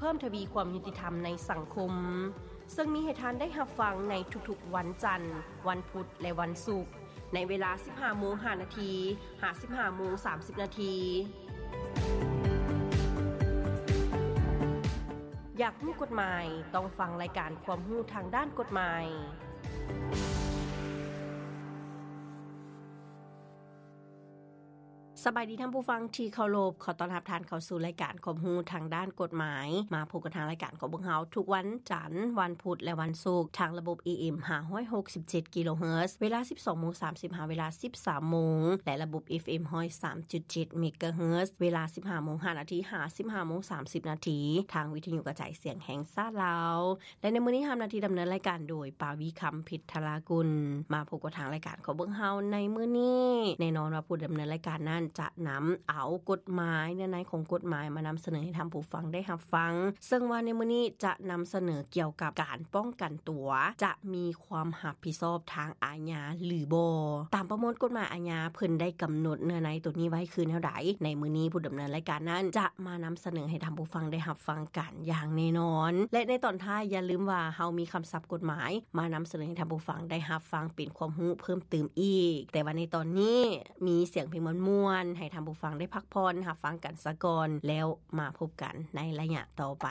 ພີ່ມທະວີຄວາມຍຸຕິທຳໃນສັງຄົມ, ເຊິ່ງມີໃຫ້ທ່ານໄດ້ຮັບຟັງໃນທຸກໆວັນຈັນ, ວັນພຸດ ແລະ ວັນສຸກ, ໃນເວລາສິບຫ້າໂມງຫ້ານາທີ ຫາ ສິບຫ້າໂມງສາມສິບນາທີ. ຢາກຮູ້ກົດໝາຍ? ຕ້ອງຟັງລາຍການຄວາມຮູ້ທາງດ້ານກົດໝາຍ. ສະບາຍດີທ່ານຜູ້ຟັງທີ່ເຄົາລົບ, ຂໍຕ້ອນຮັບທ່ານເຂົ້າສູ່ລາຍການຄວາມຮູ້ທາງດ້ານກົດໝາຍ. ມາພົບກັນທາງລາຍການຂອງພວກເຮົາທຸກວັນຈັນ, ວັນພຸດ ແລະ ວັນສຸກ ທາງລະບົບ ເອເອັມ ຫ້າຮ້ອຍຫົກສິບເຈັດກິໂລເຮີດ ເວລາສິບສອງໂມງສາມສິບ ຫາ ເວລາສິບສາມໂມງ ແລະ ລະບົບ ເອັຟເອັມ ຮ້ອຍສາມຈຸດເຈັດເມກາເຮີດ ເວລາສິບຫ້າໂມງຫ້ານາທີ ຫາ ສິບຫ້າໂມງສາມສິບນາທີ ທາງວິທະຍຸກະຈາຍສຽງແຫ່ງຊາດລາວ. ແລະ ໃນມື້ນີ້ຮັບໜ້າທີ່ດຳເນີນລາຍການໂດຍ ປາວີຄຳ ພິດທະລາກຸນ. ມາພົບກັບທາງລາຍການຂອງພວກເຮົາໃນມື້ນີ້, ແນ່ນອນວ່າຜູ້ດຳເນີນລາຍການນັ້ນຈະນຳເອົາກົດໝາຍ, ເນື້ອໃນຂອງກົດໝາຍມານຳສະເໜີໃຫ້ທ່ານຜູ້ຟັງໄດ້ຮັບຟັງ, ເຊິ່ງວ່າໃນມື້ນີ້ຈະນຳສະເໜີກ່ຽວກັບການປ້ອງກັນຕົວ ຈະມີຄວາມຮັບຜິດຊອບທາງອາຍາຫຼືບໍ່. ຕາມປະມວນກົດໝາຍອາຍາ ເພິ່ນໄດ້ກຳນົດເນື້ອໃນໂຕນີ້ໄວ້ຄືແນວໃດ, ໃນມື້ນີ້ຜູ້ດຳເນີນລາຍການນັ້ນຈະມານຳສະເໜີໃຫ້ທ່ານຜູ້ຟັງໄດ້ຮັບຟັງກັນ ຢ່າງແນ່ນອນ. ແລະ ໃນຕອນທ້າຍຢ່າລືມວ່າເຮົາມີຄຳສັບກົດໝາຍມານຳສະເໜີໃຫ້ທ່ານຜູ້ຟັງໄດ້ຮັບຟັງເປັນຄວາມຮູ້ເພີ່ມຕື່ມອີກ. ແຕ່ວ່າໃນຕອນນີ້ມີສຽງເພງມ່ວນໆ ໃຫ້ທ່ານຜູ້ຟັງໄດ້ພັກຜ່ອນຮັບຟັງກັນສາກ່ອນ, ແລ້ວມາພົບກັນໃນໄລຍະຕໍ່ໄປ.